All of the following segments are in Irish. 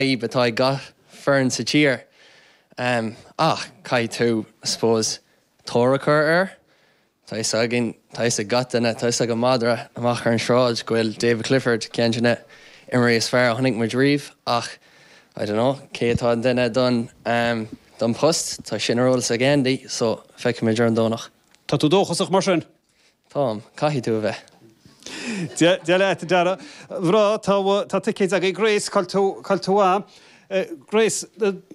Fadhb atá ag gach foireann sa tír. Ach caithfidh tú, I suppose, tóir a chur air. Tá fhios againn, tá fhios ag gach duine, tá fhios ag an madra amach ar an sráid go bhfuil David Clifford ceann de na imreoirí is fearr a chonaic muid riamh ach, I don't know, cé atá an duine don, don post? Tá sin ar eolas ag Andy so feicfimid ar an Domhnach. Tá tú dóchasach mar sin? Táim. Caithfidh tú a bheith. Dia leat, a Dhara. Bhreá, tá, tá ticéid agaibh. Grace, cá bhfuil tú, cá bhfuil tú a? Grace,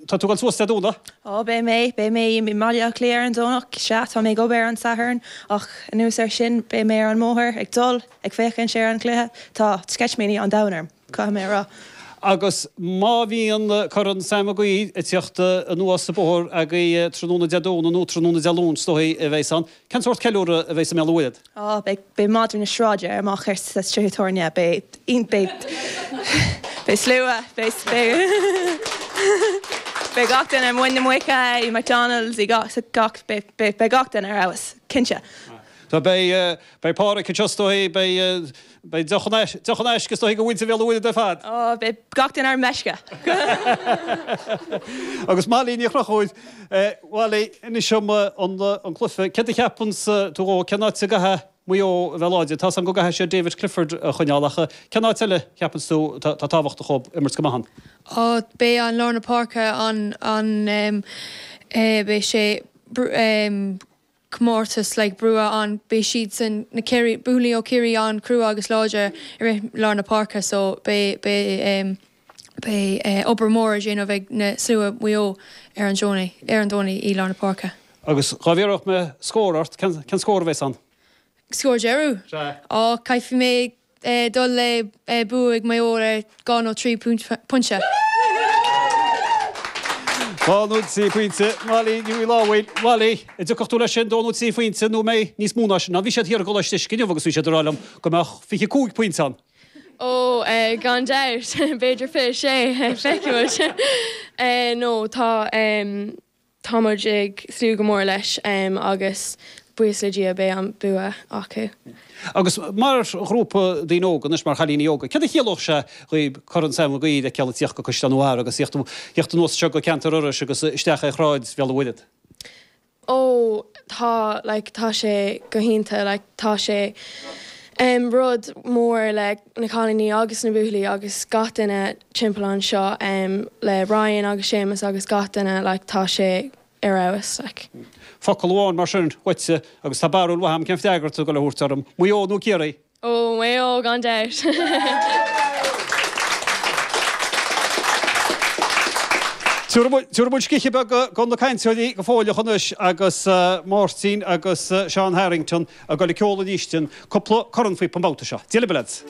tá tú ag dul suas Dé Domhnaigh? Ó, beidh mé, beidh mé i mBaile Átha Cliath ar an Domhnach. Sea, tá mé ag obair ar an Satharn ach anuas air sin beidh mé ar an mbóthar ag dul ag féachaint ar an chluiche. Tá sceitimíní an domhain orm. caithfidh mé a rá. Agus má bhíonn Corn Sam Maguire ag tíocht anuas an bóthar agaibh tráthnóna Dé Domhnaigh nó tráthnóna Dé Luain is dóigh a bheas ann, cén sórt ceiliúradh a bheas i mBéal an Mhuirthead? Á, beidh, beidh madraí na sráide amach ar sa tithe tábhairne, beidh, beidh, beidh slua, beidh, beidh, beidh gach duine i Muin na Muice, i McDonald's, i gach, gach, beidh, beidh, beidh gach duine ar fheabhas, cinnte. Tá, beidh, beidh Páraic anseo is dóigh, beidh, Beidh deoch in aisce is dóigh do mhuintir Bhéal an Mhuirthead ar fad. Ó, beidh gach duine ar meisce. Agus Molly Ní Chonchúir, Mholly, inis dom an cluiche, céard a cheapanns tú dhó, cén áit a gcaithfidh Maigh Eo a bheith láidir? Tá's agam go gcaithfidh siad David Clifford a choinneáil ach cén áit eile cheapanns tú atá tábhachtach dhóibh imirt go maith ann? Ó, beidh an lár na páirce an, an, beidh sé, comórtas like brua ann beidh siadsan na Ciarraí buachaillí ó Chiarraí an-chrua agus láidir i rith lár na páirce so beidh beidh em beidh eh obair mór a dhéanamh ag na slua Mhaigh Eo ar an Domhnach ar an Domhnach i lár na páirce. Agus dhá bhfiafródh mé scór ort, cén cén scór a bheas ann? Scór deireadh? Sea. Á caithfidh mé dul le bua ag Maigh Eo ar 2 nó 3 pointe. 2 nó 3 phointe. Molly Ní Mhaolábhail, Molly, an dtiocfadh tú leis sin, 2 nó 3 phointe nó an mbeidh níos mó ná sin ann? Bhí siad thiar i gColáiste Uisce inniu agus bhí siad ag rá liom go mbeadh 25 pointe ann. Ó, gan dabht, b'fhéidir 26, feicfidh muid. No, tá. Tá muid ag súil go mór leis agus buíochas le Dia beidh an bua acu. Agus mar ghrúpa daoine óga anois, mar chailíní óga, céard a chiallódh sé dhaoib Corn Sam Maguire a fheiceáil ag tíocht go Caisleán an Bharraigh agus thíocht anuas anseo go ceantar Iorrais agus isteach ar Shráid Bhéal an Mhuirthead? Ó tá, like tá sé go hiontach, like tá sé em rud mór le na cailíní agus na buachaillí agus gach duine timpeall anseo em le Ryan agus Séamus agus gach duine like tá sé ar fheabhas like. Focal amháin mar sin uaitse agus tá barúil mhaith agam cén freagra atá tú ag dul a thabhairt orm, Maigh Eo nó Ciarraí? Ó, Maigh Eo gan dabht! Tabharfaidh muid scíth beag do na cainteoirí go fóilleach anois agus Máirtín agus Seán Harrington ag dul ag ceol arís cúpla cornphíopa an babhta seo. Dia libh, lads!